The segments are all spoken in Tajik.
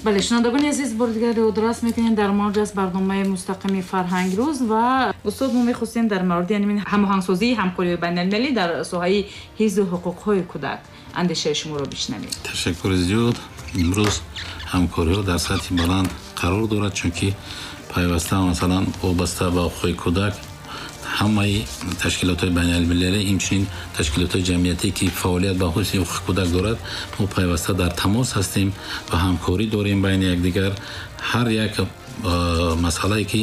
Бале, шунавандагони азиз, бори дигар ёдрас мекунем, дар мавҷ аст барномаи мустақими Фарҳанг рӯз ва устод, мо мехостем дар мавриди ҳамоҳангсозии ҳамкориҳои байналмилалӣ дар соҳаи ҳифзи ҳуқуқҳои кӯдак андешаи шуморо бишнавем. Ташаккури зиёд. Имрӯз ҳамкориҳо дар сатҳи баланд қарор дорад, чунки пайваста, масалан, вобаста ба ҳуқуқи кӯдак ҳамаи ташкилотҳои байналмилалӣ, инчунин ташкилотҳои ҷамъиятӣ, ки фаъолият ба ҳифзи ҳуқуқи кӯдак дорад, мо пайваста дар тамос ҳастем ва ҳамкорӣ дорем байни якдигар. Ҳар як масъалае, ки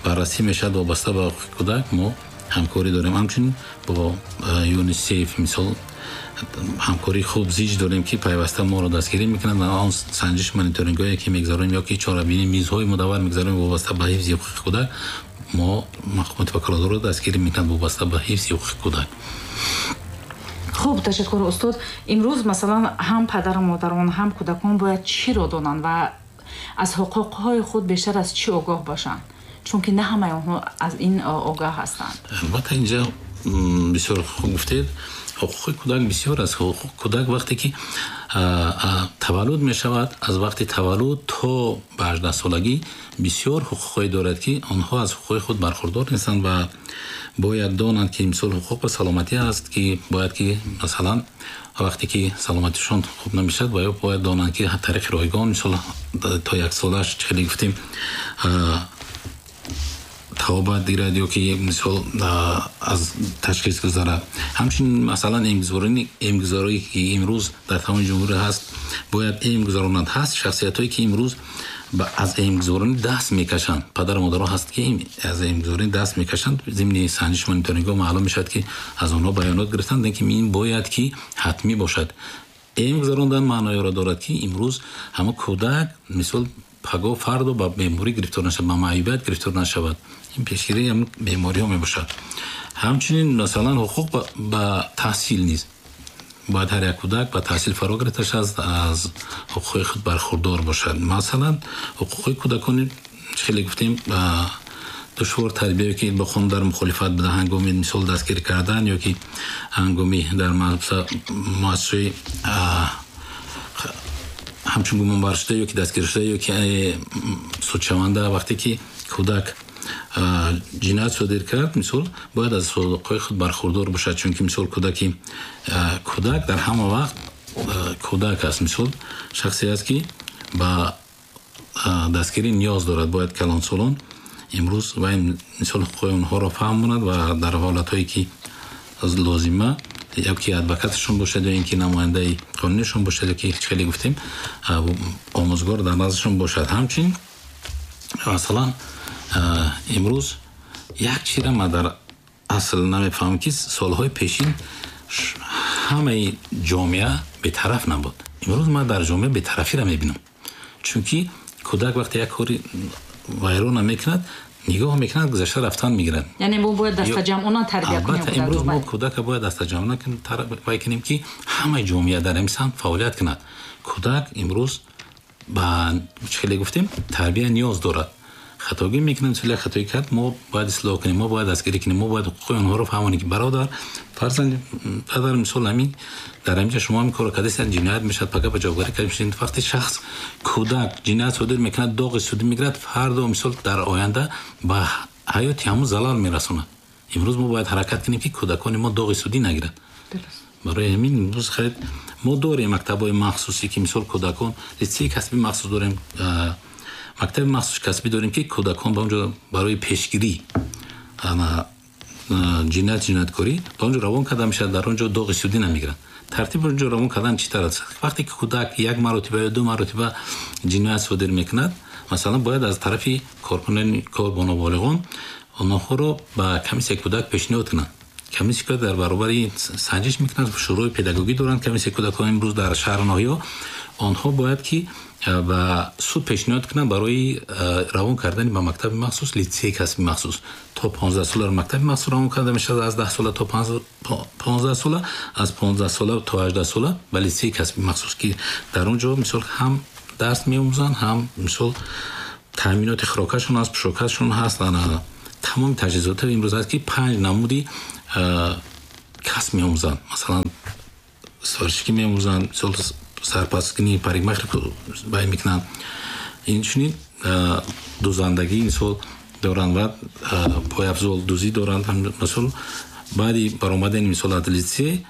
баррасӣ мешавад вобаста ба ҳуқуқи кӯдак, мо ҳамкорӣ дорем. Ҳамчунин бо ЮНИСЕФ, мисол, ҳамкории хуб зич дорем, ки пайваста моро дастгирӣ мекунад ва он санҷиш мониторингҳое, ки мегузаронем, ё ки чорабинӣ мизҳои мудаввар мегузаронем вобаста ба ҳифзи ҳуқуқи кӯдак, мо мақомоти ваколатдорро дастгирӣ мекунад вобаста ба ҳифзи ҳуқуқи кӯдак. Хуб, ташаккур, устод. Имрӯз, масалан, ҳам падару модарон, ҳам кӯдакон бояд чиро донанд ва аз ҳуқуқҳои худ бештар аз чӣ огоҳ бошанд, чунки на ҳамаи онҳо аз ин огоҳ ҳастанд? Албатта, инҷа бисёр хуб гуфтед. Ҳуқуқи кӯдак бисёр аст. Ҳуқуқи кӯдак вақте ки таваллуд мешавад, аз вақти таваллуд то ба 18-солагӣ бисёр ҳуқуқҳое дорад, ки онҳо аз ҳуқуқҳои худ бархурдор нестанд ва бояд донанд, ки мисол ҳуқуқ ба саломатӣ аст, ки бояд ки, масалан, вақте ки саломатишон хуб намешавад, ва ё бояд донанд, ки тариқи ройгон, мисол, то 1 солааш, хеле гуфтем, табобат гирад ё ки, мисол, аз ташхис гузарад. Ҳамчунин, масалан, эмгузорие, ки имрӯз дар тамоми ҷумҳурӣ ҳаст, бояд эм гузаронанд. Ҳаст шахсиятҳое, ки имрӯз аз эмгузоронӣ даст мекашанд. Падару модаро ҳаст, ки аз эмгузоронӣ даст мекашанд. Зимни санҷиш мониторингҳо маълум мешавад, ки аз онҳо баёнот гирифтанд, ки ин бояд ки ҳатмӣ бошад. Эм гузарондан маъноеро дорад, ки имрӯз ҳама кӯдак, мисол, пагоҳ фардо ба беморӣ гирифтор нашавад, ба маъюбият гирифтор нашавад. Ин пешгирии ҳамин бемориҳо мебошад. Ҳамчунин, масалан, ҳуқуқ ба таҳсил низ бояд ҳар як кӯдак ба таҳсил фаро гирифта шавад, аз ҳуқуқи худ бархурдор бошад. Масалан, ҳуқуқи кӯдакони, хеле гуфтем, душвор тарбия, ки бо қонун дар мухолифат буда, ҳангоми, мисол, дастгирӣ кардан ё ки ҳангоми дар муассисаи ҳамчун гумонбаршуда ё ки дастгиршуда ё ки судшаванда, вақте ки кӯдак ҷиноят содир кард, мисол, бояд аз ҳуқуқҳои худ бархурдор бошад, чунки, мисол, кӯдак дар ҳама вақт кӯдак аст, мисол, шахсе аст, ки ба дастгирӣ ниёз дорад. Бояд калонсолон имрӯз ва, мисол, ҳуқуқҳои онҳоро фаҳмонад ва дар ҳолатҳое, ки лозима, ё ки адвокаташон бошад, ё ин ки намояндаи қонунишон бошад, ё ки, хеле гуфтем, омӯзгор дар наздашон бошад. Ҳамчунин, масалан, имрӯз як чизра ман дар асл намефаҳмам, ки солҳои пешин ҳамаи ҷомеа бетараф набуд. Имрӯз ман дар ҷомеа бетарафиро мебинам, чунки кӯдак вақте як кори вайрона мекунад, нигоҳ мекунад, гузашта рафтан мегирад. Яъне мо бояд дастаҷамъона тарбия кунем. Албатта, имрӯз мо кӯдака бояд дастаҷамъона вай кунем, ки ҳамаи ҷомеа дар ҳамин самт фаъолият кунад. Кӯдак имрӯз ба, хеле гуфтем, тарбия ниёз дорад. Хатогӣ мекунад, мисол, як хатоӣ кард, мо бояд ислоҳ кунем, мо бояд дастгирӣ кунем, мо бояд ҳуқуқи онҳоро фаҳмонем, ки бародар, фарзанд, падар, мисол, ҳамин дар ҳаминҷа шумо ҳамин корро кардастед, ҷиноят мешавад, пага ба ҷавобгарӣ карда мешавед. Вақте шахс, кӯдак ҷиноят содир мекунад, доғи судӣ мегирад, фардо, мисол, дар оянда ба ҳаёти ҳамун залал мерасонад. Имрӯз мо бояд ҳаракат кунем, ки кӯдакони мо доғи судӣ нагирад. Барои ҳамин имрӯз хайр, мо дорем мактабҳои махсусӣ, ки, мисол, кӯдакон, литсеи касбӣ махсус дорем, мактаби махсуси касбӣ дорем, ки кӯдакон ба онҷо барои пешгирӣ ҷиноят, ҷинояткорӣ ба онҷо равон карда мешавад, дар он ҷо доғи судӣ намегиранд. Тартиби онҷо равон кардан чӣ тавр аст? Вақте ки кӯдак як маротиба ё ду маротиба ҷиноят содир мекунад, масалан, бояд аз тарафи коркунони кор бо ноболиғон онҳоро ба комиссияи кӯдак пешниҳод кунанд. Комиссияи кӯдак дар баробари санҷиш мекунад. Шӯрои педагогӣ доранд комиссияи кӯдакон имрӯз дар шаҳру ноҳияҳо. Онҳо бояд ки ба суд пешниҳод кунанд барои равон кардани ба мактаби махсус, литсеи касби махсус. То 15 сола мактаби махсус равон карда мешавад, аз 10 сола то 15 сола, аз 15 сола то 18 сола ба литсеи касби махсус, ки дар он ҷо, мисол, ҳам дарс меомӯзанд, ҳам, мисол, таъминоти хӯрокашон ҳаст, пӯшокашон ҳаст, тамоми таҷҳизото имрӯз ҳаст, ки панҷ намуди касб меомӯзанд. Масалан, сварщикӣ меомӯзанд, мисол, сарпазкунӣ, парикмахер вай мекунанд. Инчунин дузандагӣ мисол доранд ва пойафзол дузӣ доранд. Мисол, баъди баромадани мисол аз литсей,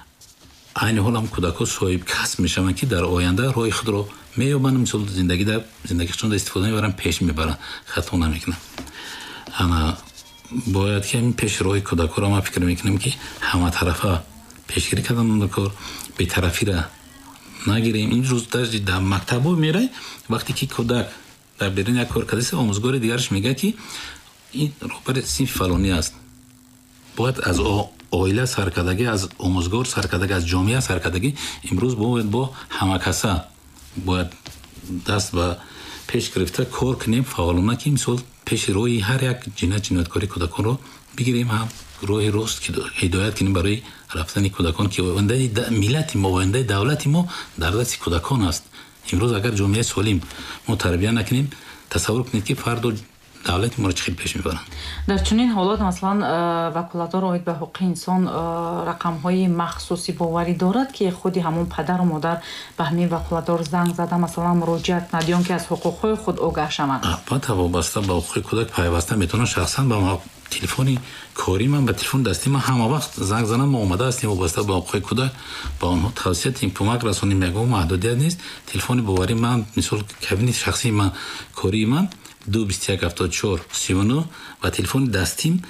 айни ҳол ҳам кӯдакҳо соҳиб касб мешаванд, ки дар оянда роҳи худро меёбанд, мисол зиндагишонда истифода мебаранд, пеш мебаранд, хато намекунанд. Ана бояд ки ҳамин пеши роҳи кӯдакҳоро, ман фикр мекунам, ки ҳаматарафа пешгирӣ кардан кор, бетарафиро нагирем. Ин рӯз дар мактабҳо мерай, вақте ки кӯдак дар берун як кор кардааст, омӯзгори дигараш мегӯяд, ки ин роҳбари синфи фалонӣ аст. Бояд аз оила саркардагӣ, аз омӯзгор саркардагӣ, аз ҷомеа саркардагӣ, имрӯз бояд бо ҳамакаса бояд даст ба пеш гирифта кор кунем фаъолона, ки мисол пеши роҳи ҳар як ҷинояткории кӯдаконро бигирем, ҳам роҳи рост ҳидоят кунем барои рафтани кӯдакон, ки ояндаи миллати мо, ояндаи давлати мо дар дасти кӯдакон аст. Имрӯз агар ҷомеаи солим мо тарбия накунем, тасаввур кунед, ки фардо давлати моро чӣ хел пеш мебаранд. Дар чунин ҳолат, масалан, ваколатдор оид ба ҳуқуқи инсон рақамҳои махсуси боварӣ дорад, ки худи ҳамон падару модар ба ҳамин ваколатдор занг зада, масалан, муроҷиат кунад ё он ки аз ҳуқуқҳои худ огаҳ шаванд? Албатта, вобаста ба ҳуқуқи кӯдак пайваста метавонанд шахсан ба телефони кории ман, ба телефони дастии ман ҳама вақт занг зананд. Мо омода ҳастем вобаста ба ҳуқуқи кӯдак ба онҳо тавсия диҳем, кӯмак расонем, ягон маҳдудият нест. Телефони боварии ман, мисол, кабинети шахсии ман, кории ман 2 21 74 39 ва телефони дастим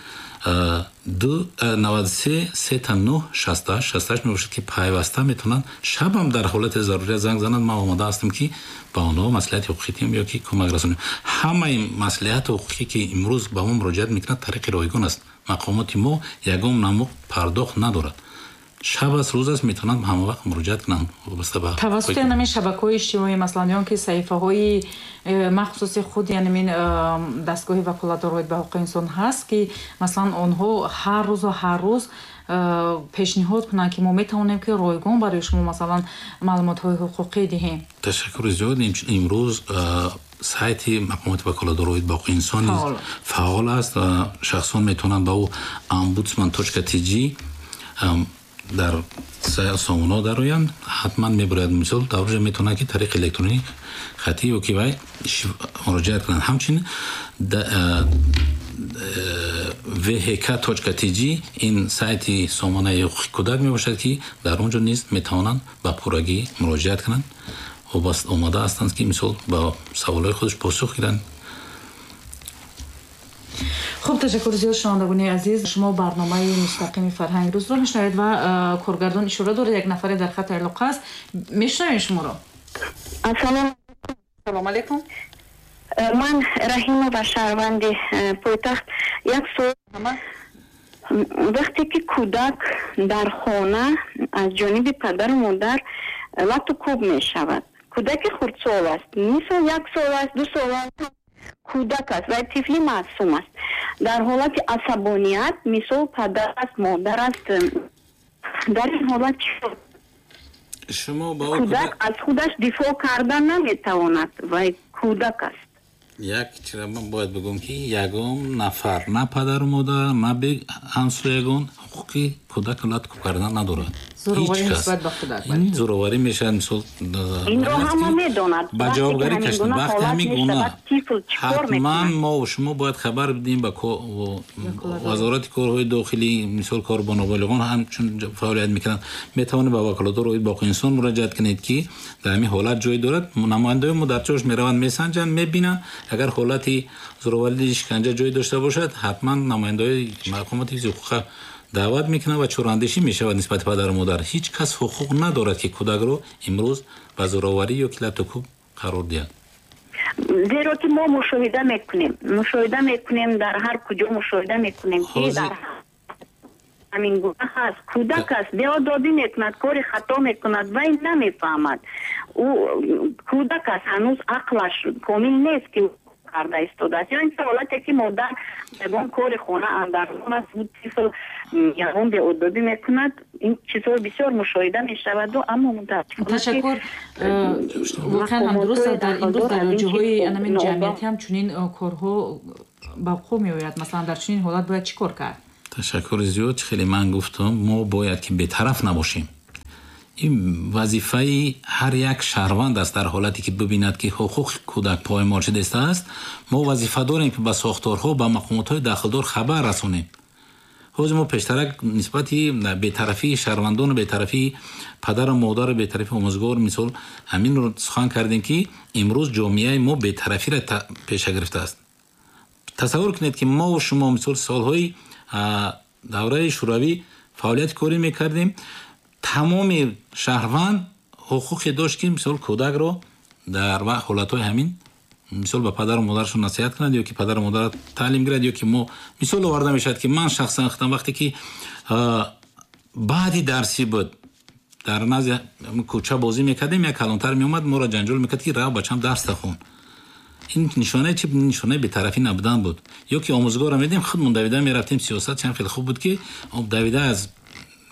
2 93 9 9 68 68 мебошад, ки пайваста метавонанд шабам дар ҳолати зарурият занг зананд. Ман омода ҳастам, ки ба онҳо маслиҳати ҳуқуқӣ диҳем ё ки кӯмак расонем. Ҳамаи маслиҳати ҳуқуқӣ, ки имрӯз ба мо муроҷиат мекунад, тариқи ройгон аст. Мақомоти мо ягон намуд пардохт надорад. Шаб аст, рӯз аст, метавонанд ҳама вақт муроҷиат кунанд вобаста ба Тавассути ҳамин шабакаҳои иҷтимоӣ, масалан, ё ки саҳифаҳои махсуси худ, яъне мин дастгоҳи ваколатдор оид ба ҳуқуқи инсон ҳаст, ки масалан онҳо ҳар рӯзу ҳар рӯз пешниҳод кунанд, ки мо метавонем, ки ройгон барои шумо, масалан, маълумотҳои ҳуқуқӣ диҳем? Ташаккури зиёд. Имрӯз сайти мақомоти ваколатдор оид ба ҳуқуқи инсон низ фаъол аст ва шахсон метавонанд ба ӯ ombudsman.tj дар сомонаҳо дароянд, ҳатман мебарояд. Мисол, дар оҷа метавонанд, ки тариқи электронӣ, хатӣ ё ки вай муроҷиат кунанд. Ҳамчунин vhk.tj ин сайти сомонаи ҳуқуқи кӯдак мебошад, ки дар он ҷо низ метавонанд ба пуррагӣ муроҷиат кунанд. Омода ҳастанд, ки мисол ба саволҳои худаш посух гиранд. Хуб, ташаккури зиёд. Шунавандагони азиз, шумо барномаи мустақими «Фарҳанги рӯзро» мешунавед ва коргардон ишора дорад, як нафаре дар хати алоқа аст. Мешунавем шуморо. Салом алейкум. Ман Раҳимова, шаҳрванди пойтахт. Як суол: вақте ки кӯдак дар хона аз ҷониби падару модар лату кӯб мешавад, кӯдаки хурдсол аст, мисол, 1 сол аст, 2 сол аст, кӯдак аст ва тифли маъсум аст, дар ҳолати асабоният, мисол, падар аст, модар аст, дар ин ҳолат Шумо ба кӯдак аз худаш дифоъ карда наметавонад, вай кӯдак аст. Як чира ман бояд бигӯм, ки ягон нафар, на падару модар, на ҳамсоягон ҳуқуқи кӯдакро лату кӯб кардан надорад. Зӯроварӣ нисбат ба кӯдак. Ин зӯроварӣ мешавад, мисол. Инро ҳама медонад. Ба ҷавобгарӣ кашид. Вақти ҳамин гуна ҳатман мо шумо бояд хабар бидиҳем ба Вазорати корҳои дохилӣ, мисол, кор бо ноболиғон ҳамчун фаъолият мекунанд. Метавонед ба ваколатдор оид ба ҳуқуқи инсон муроҷиат кунед, ки дар ҳамин ҳолат ҷой дорад. Намояндаҳои мо дар ҷош мераванд, месанҷанд, мебинанд. Агар ҳолати зӯроварӣ, шиканҷа ҷой дошта бошад, ҳатман намояндаҳои мақомоти ҳифзи ҳуқуқа даъват мекунанд ва чораандешӣ мешавад нисбати падару модар. Ҳеҷ кас ҳуқуқ надорад, ки кӯдакро имрӯз ба зӯроварӣ ё ки латукӯб қарор диҳад. Зеро ки мо мушоҳида мекунем, дар ҳар куҷо мушоҳида мекунем, ки дар ҳамин гуна ҳаст. Кӯдак аст, беодобӣ мекунад, кори хато мекунад, вай намефаҳмад, ӯ кӯдак аст, ҳанӯз ақлаш комил нест, ки карда истодааст. Ё ин ҳолате ки модар ягон кори хона андармон аст, тифл ягон беодобӣ мекунад. Ин чизҳо бисёр мушоҳида мешаваду, аммо мутаассифона Ташаккур. Воқеан ҳам дуруст аст, дар имрӯз дар ҷоҳои анамин ҷамъиятӣ ҳам чунин корҳо ба вуқӯъ меояд. Масалан, дар чунин ҳолат бояд чӣ кор кард? Ташаккури зиёд. Хеле ман гуфтам, мо бояд ки бетараф набошем. Ин вазифаи ҳар як шаҳрванд аст. Дар ҳолате ки бибинад, ки ҳуқуқи кӯдак поймол шудааст, мо вазифа дорем, ки ба сохторҳо, ба мақомотҳои дахлдор хабар расонем. Ҳозир мо пештарак нисбати бетарафии шаҳрвандону бетарафии падару модару бетарафии омӯзгор, мисол, ҳаминро сухан кардем, ки имрӯз ҷомеаи мо бетарафиро пеша гирифтааст. Тасаввур кунед, ки мову шумо, мисол, солҳои давраи шӯравӣ фаъолияти корӣ мекардем. Тамоми шаҳрванд ҳуқуқе дошт, ки, мисол, кӯдакро дар ҳолатҳои ҳамин, мисол, ба падару модарашон насиҳат кунад ё ки падару модарро таълим гирад. Ё ки мо мисол оварда мешавад, ки ман шахсан худам, вақте ки баъди дарсӣ буд, дар назди кӯча бозӣ мекардем, як калонтар меомад, моро ҷанҷол мекард, ки рав, бачам, дарс хон. Ин нишонаи чи? Нишонаи бетарафӣ набудан буд. Ё ки омӯзгорро медидем, худмон давида мерафтем. Сиёсат чанд хеле хуб буд, ки давида аз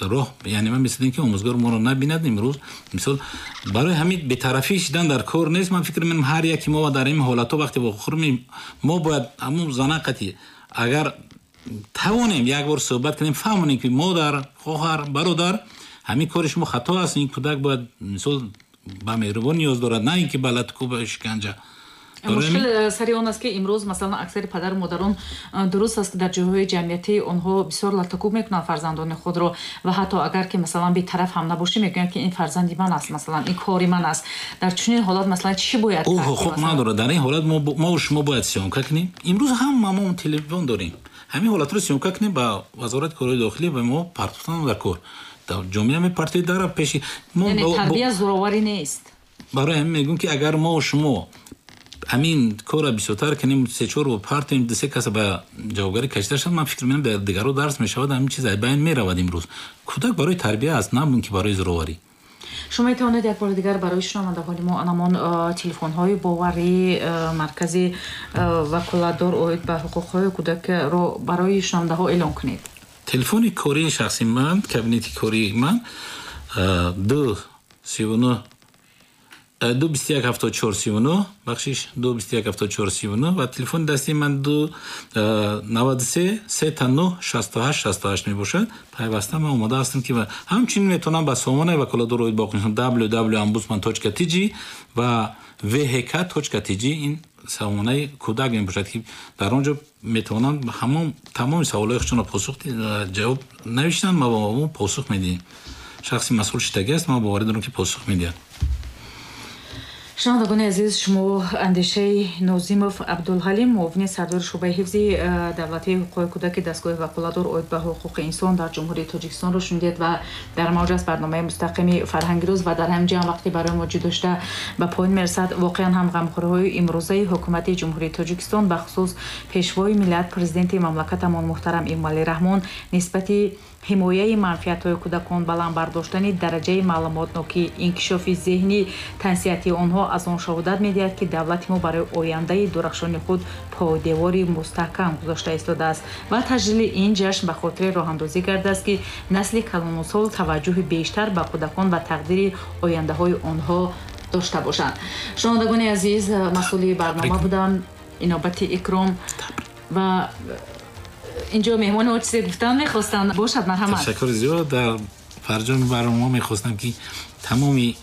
роҳ, яъне ман месидем, ки омӯзгор моро набинад. Имрӯз, мисол, барои ҳамин бетарафӣ шидан дар кор нест. Ман фикр менам, ҳар яки мо дар ин ҳолатҳо, вақте вохӯрмем, мо бояд ҳамун зана қати, агар тавонем, як бор суҳбат кунем, фаҳмонем, ки модар, хоҳар, бародар, ҳамин кори шумо хато аст. Ин кӯдак бояд, мисол, ба меҳрубон ниёз дорад, на ин ки ба латукӯб, шиканҷа. Мушкил сари он аст, ки имрӯз, масалан, аксари падару модарон, дуруст аст, ки дар ҷойҳои ҷамъиятӣ онҳо бисёр латукӯб мекунанд фарзандони худро ва ҳатто агар ки, масалан, бетараф ҳам набошӣ, мегӯянд, ки ин фарзанди ман аст, масалан, ин кори ман аст. Дар чунин ҳолат, масалан, чӣ бояд? Ӯ ҳуқуқ надорад. Дар ин ҳолат мову шумо бояд съёмка кунем. Имрӯз ҳама мо телефон дорем. Ҳамин ҳолатро съёмка кунем, ба Вазорати корҳои дохилӣ ба мо партофтан дар кор, дар ҷомеа мепартоед, дара пеши Тарбия зӯроварӣ нест. Барои ҳамин мегӯм, ки агар мо шумо ҳамин корро бисёртар кунем, сечор партоем, дусе каса ба ҷавобгарӣ кашида шавад, ман фикр менам, ба дигарро дарс мешавад, ҳамин чиз байн меравад. Имрӯз кӯдак барои тарбия аст, на ки барои зӯроварӣ. Шумо метавонед як бори дигар барои шунавандаҳои мо анамон телефонҳои боварии маркази ваколатдор оид ба ҳуқуқҳои кӯдакро барои шунавандаҳо эълон кунед? Телефони кории шахси ман, кабинети кории ман, 2 39 2 21 74 39, бахшиш, 2 21 74 39 ва телефони дастии ман 2 93 999 68 68 мебошад. Пайваста ман омода ҳастам, ки ҳамчунин метавонам ба сомонаи ваколатдор оид ба www ombudsman tj ва vhk tj. Ин сомонаи кӯдак мебошад, ки дар он ҷо метавонанд ҳамон тамоми саволҳои худшонро посух, ҷавоб навиштанд, ма ба мо посух медиҳем. Шахси масъул шидагӣ аст, ман боварӣ дорам, ки посух медиҳад. Шунавандагони азиз, шумо андешаи Нозимов Абдулҳалим, муовини сардори шӯъбаи ҳифзи давлатии ҳуқуқи кӯдаки дастгоҳи ваколатдор оид ба ҳуқуқи инсон дар Ҷумҳурии Тоҷикистонро шунидед ва дар мавҷ аст барномаи мустақими «Фарҳанги рӯз» ва дар ҳамин ҷо ҳам вақте барои мо ҷудо шуда ба поён мерасад. Воқеан ҳам ғамхориҳои имрӯзаи ҳукумати Ҷумҳурии Тоҷикистон, бахусус Пешвои миллат, Президенти мамлакатамон муҳтарам Эмомалӣ Раҳмон, нисбати ҳимояи манфиатҳои кӯдакон, баланд бардоштани дараҷаи маълумотнокӣ, инкишофи зеҳнӣ, тансиҳатии онҳо аз он шаҳодат медиҳад, ки давлати мо барои ояндаи дурахшони худ пойдевори мустаҳкам гузошта истодааст. Ва таҷлили ин ҷашн ба хотири роҳандозӣ гардааст, ки насли калонусол таваҷҷӯҳи бештар ба кӯдакон ва тақдири ояндаҳои онҳо дошта бошанд. Шунавандагони азиз, масъули барнома будам Инобати Икром ва инҷо меҳмони мо чизе гуфтан мехостанд. Бошад, марҳамат. Ташаккури зиёд. Дар фарҷоми барнома мехостам, ки тамоми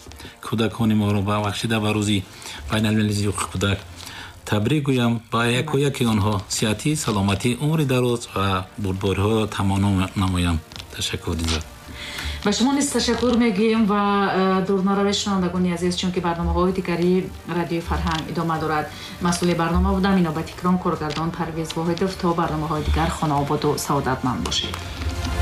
кӯдакони моро ба бахшида ба рӯзи байналмилалии ҳуқуқи кӯдак табрик гӯям, ба яко яки онҳо сиҳатӣ, саломатӣ, умри дароз ва бурдбориҳоро таманно намоям. Ташаккури зиёд. Ба шумо низ ташаккур мегӯем ва дур наравед, шунавандагони азиз, чунки барномаҳои дигари Радиои Фарҳанг идома дорад. Масъули барнома будам Инобат Икром, коргардон Парвез Воҳидов. То барномаҳои дигар хонаободу саодатманд бошед.